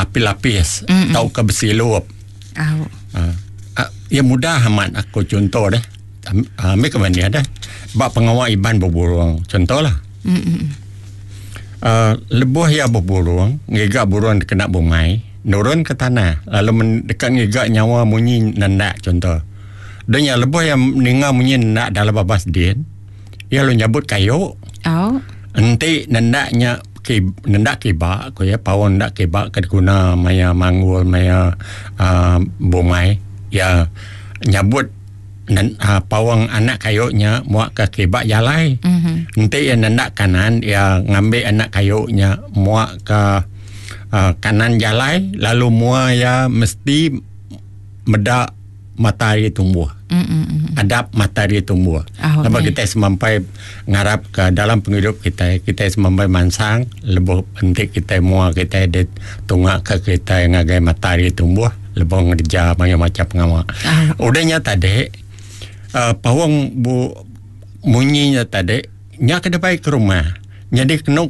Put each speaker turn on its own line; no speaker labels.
belapis-lapis tauka besilup.
Au.
Uh, iya mudah amat aku chunto deh. Ambi ke banding deh. Ba pengawa Iban beburung chunto lah. Uh, lebuh iya beburung, ngiga burung dikena bumai, nurun ke tanah lalu men, deka ngiga nyawa munyi nendak chunto. Dah nya lebuh iya ninga munyi nendak dalam babas din, iya lalu nyabut kayu.
Au.
Enti nendak nya ki nendak kiba ku iya paun nendak kiba ke diguna maya manggul maya uhh bumai iya nyabut nen uhh paung anak kayu nya muak ka kiba jalai. Enti iya nendak kanan iya ngambi anak kayu nya muak ka uhh kanan jalai lalu mua iya mesti meda mata hari tumbuh. Adap mata hari tumbuh. Laban kitai semampai ngarap ka dalam pengidup kitai, kitai semampai mansang lebuh enti kitai mua kitai deh tunga ka kitai ngagai mata hari tumbuh lebuh ngereja mayuh macam pengawa. Udah nya tadi uhh paung bu munyi nya tadi nya ke dibai ke rumah. Nyadi kenu.